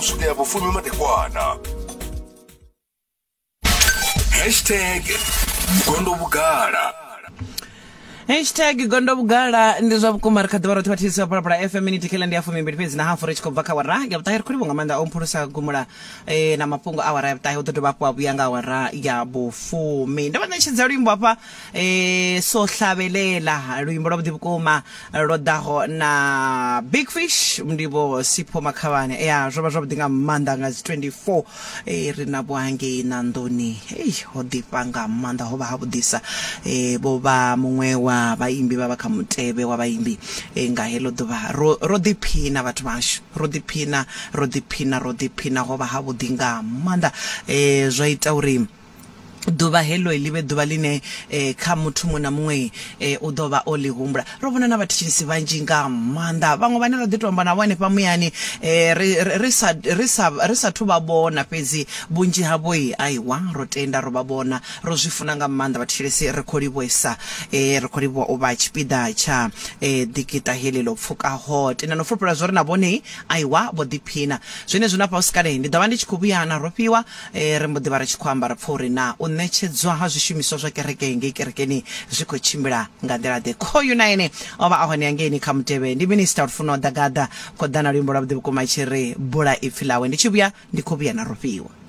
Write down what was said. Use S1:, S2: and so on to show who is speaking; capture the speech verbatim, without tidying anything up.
S1: swika ya vhufumi madekwana. Hashtag Gondo Vhugala.
S2: Hashtag Gondo Vhugala. Ndi zwa vhukuma, ri kha ḓivha roṱhe vhathetshelesi vha Phalaphala F M. Miniti kheḽa ndi ya fumimbili fhedzi na hafu ri tshi khou bva kha awara ya vhuṱahe. Ri khou livhuwa nga maanḓa o mphulusa gumula eh, na mafhungo a awara ya vhuṱahe. U ḓo dovha hafhu a vhuya nga awara ya vhufumi. Ndo vha ṋetshedza luimbo hafha eh, so hlavelela, luimbo lwa vhuḓi vhukuma lwo ḓaho na Big Fish, ndi vho Sipho Makhavhane. Ya zwo vha zwavhuḓi nga maanḓa nga dzi twenty-four eh, ri na vho hangei Nandoni. Ei, ho ḓifha nga maanḓa, ho vha ha vhuḓisa. eh, vho vha muṅwe wa vhaimbi vha vha kha mutevhe wa vhaimbi eh, nga heḽo ḓuvha. Ro ro ḓiphina vhathu vhashu, ro ḓiphina, ro ḓiphina, ro ḓiphina, ho vha ha vhuḓi nga maanḓa. eh, zwa ita uri ḓuvha heḽo ḽi vhe ḓuvha ḽine eh, kha muthu muṅwe na muṅwe eh, u ḓo vha o ḽi humbula. Ro vhona na vhathetshelesi vhanzhi nga maanḓa, vhaṅwe vhane ra ḓi to amba navho hanefha muyani eh, ri, ri, ri sa ri sa ri sa thu vha vhona, fhedzi vhunzhi havho aiwa ro tenda ro vha vhona, ro zwi funa nga maanḓa. Vhathetshelesi ri khou livhuwesa, eh, ri khou livhuwa u vha tshipiḓa tsha eh, ḓikiṱa heḽi ḽo pfukaho. Tenda no fulufhela zwo ri na vhone aiwa vho ḓiphina. Zwenezwi na fha usikale ndi ḓo vha ndi tshi khou vhuya na Rofhiwa, eh, ri mbo ḓi vha ri tshi khou amba ra pfa uri na u ṋetshedzwa ha zwishumiswa zwa kereke ngei kerekeni zwi khou tshimbila nga nḓila ḓe. Khoyu na ene o vha a hone hangeini kha mutevhe, ndi minista Lufuno Ḓagaḓa, khou ḓa na luimbo lwa vhuḓi vhukuma tshi ri bula ipfi ḽawe. Ndi tshi vhuya ndi khou vhuya na Rofhiwa.